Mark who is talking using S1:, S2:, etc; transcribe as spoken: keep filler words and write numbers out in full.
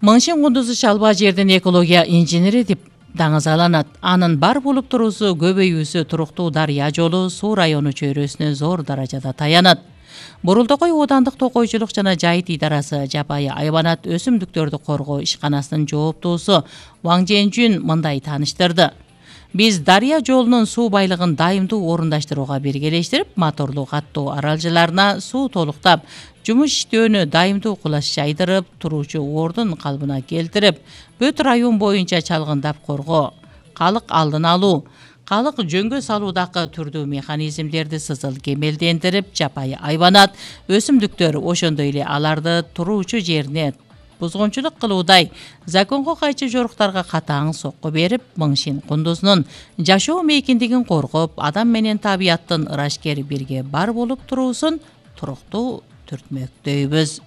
S1: Мыңшин кундузу чалбаа жердин экология инженери деп даңазаланат. Анын бар болуп туруусу көбөйүүсү туруктуу дарыя жолу суу району чөйрөсүнө зор даражада таянат. Бурултокой оодандык токойчулук жана жайыт идарасы жапайы айванат өсүмдүктөрдү коргоо ишканасынын жооптуусу Ваң Женжүн мындай тааныштырды. Биз дарыя жолунун суу байлыгын дайымдуу орундаштырууга биргелештирип, моторлуу каттуу аралжаларына суу толуктап, жумуш иштөөнү дайымдуу кулаш жайдырып, туруучу ордун калыбына келтирип, бүт район боюнча чалгындап коргоо, калык алдын алуу, калык жөнгө салуудагы түрдүү механизмдерди сызыл кемелдендирип, жапайы айванат өсүмдүктөр, ошондой эле аларды туруучу жерине бузгунчулук кылуудай законго кайчы жоруктарга катаң сокку берип, Мыңшин кундузунун жашоо мейкиндигин коргоп, адам менен табияттын ырашкер бирге бар болуп туруусун туруктуу түртмөктөйбүз.